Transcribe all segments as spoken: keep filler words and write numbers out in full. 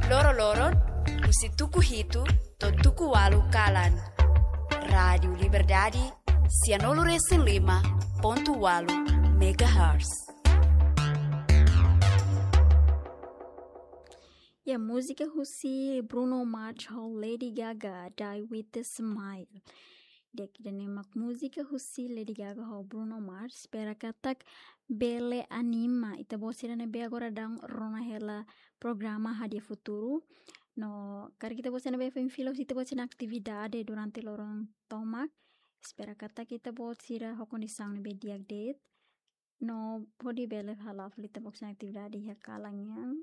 Loro-loron, husi tuku hitu to'o tuku ualu kalan. Rádiu Liberdade, sianulu resin lima pontu ualu megahertz. Ya, múzika husi Bruno Mars ho Lady Gaga, Die With A Smile. Di'ak, ida-ne'e mak múzika husi Lady Gaga ho Bruno Mars. Espera katak bele anima ita-boot sira ne'ebé agora daudaun rona hela programa Hadi'a Futuru. No karik ita-boot sira ne'ebé foin fila husi ita-boot sira-nia atividade durante loron tomak, espera katak ita-boot sira ho kondisaun ne'ebé di'ak de'it. No hodi bele hala'o fali ita-boot sira-nia atividade iha kalan nian.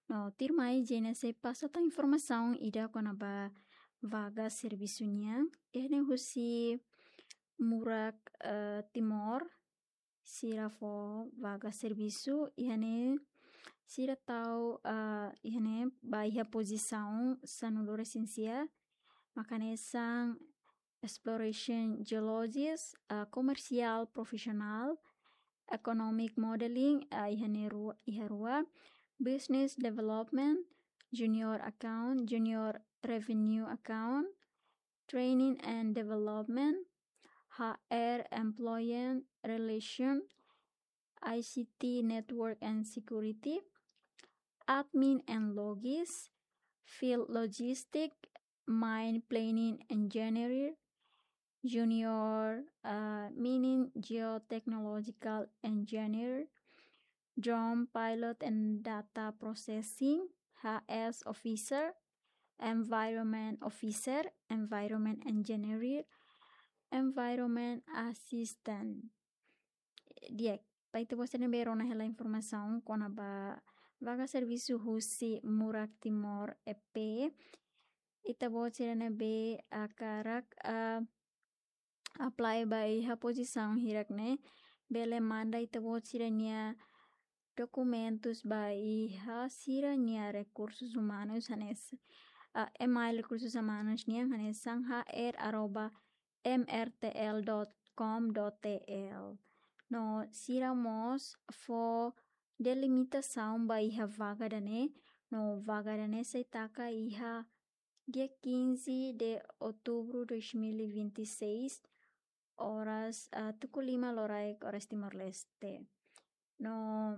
No tuirmai Jenese pasa tan informasaun ida kona-ba vaga servisu nian. Iha ne'e husi Murak, eh, Timor, sira fó vaga servisu, iha ne'e sira tau, eh, iha ne'e ba iha pozisaun sanulu resin sia, mak hanesan exploration geologist, eh, commercial professional, economic modeling, eh, iha ne'e ru-, iha rua, business development, junior account, junior revenue account, training and development, H R employee relation, I C T network and security, admin and logis, field logistic, mine planning engineer, junior, uh, mining geotechnological engineer, drone pilot and data processing, H S officer, environment officer, environment engineer, environment assistant. Di'ak, ba ita-boot sira ne'ebé rona hela informasaun kona-ba vaga servisu husi Murak Timor E P. Ita-boot sira ne'ebé hakarak, ah, apply ba iha pozisaun hirak ne'e, bele manda ita-boot sira-nia dokumentus ba iha sira-nia rekursus umanus hanesan, ah, email rekursus umanus nian hanesan H R arroba M R T L dot com dot T L. No sira mós fó delimitasaun ba iha vaga ida-ne'e, no vaga ida-ne'e sei taka iha dia quinze de outubro dois mil e vinte e seis, oras, ah, tuku lima loraik, oras Timor-Leste. No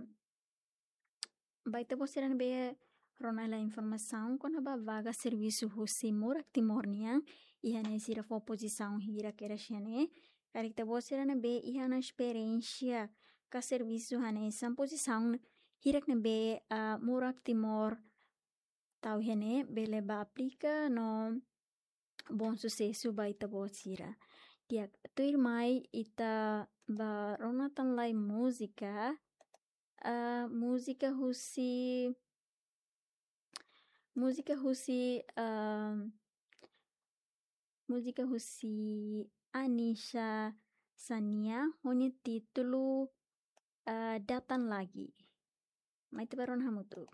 ba ita-boot sira ne'ebé rona hela informasaun kona-ba vaga servisu husi Murak Timor nian, iha ne'e sira fó pozisaun hirak kedas iha ne'e. Karik ita-boot sira ne'ebé iha ona esperiénsia ka servisu hanesan pozisaun hirak ne'ebé, ah, Murak Timor tau iha ne'e, bele bá aplika no bom susesu ba ita-boot sira. Di'ak, tuirmai ita bá rona tan lai múzika, ah, múzika husi, múzika husi, ah, múzika husi Anisha Sania, ho nia títulu, ah, Datang Lagi. Mai ita bá rona hamutuk.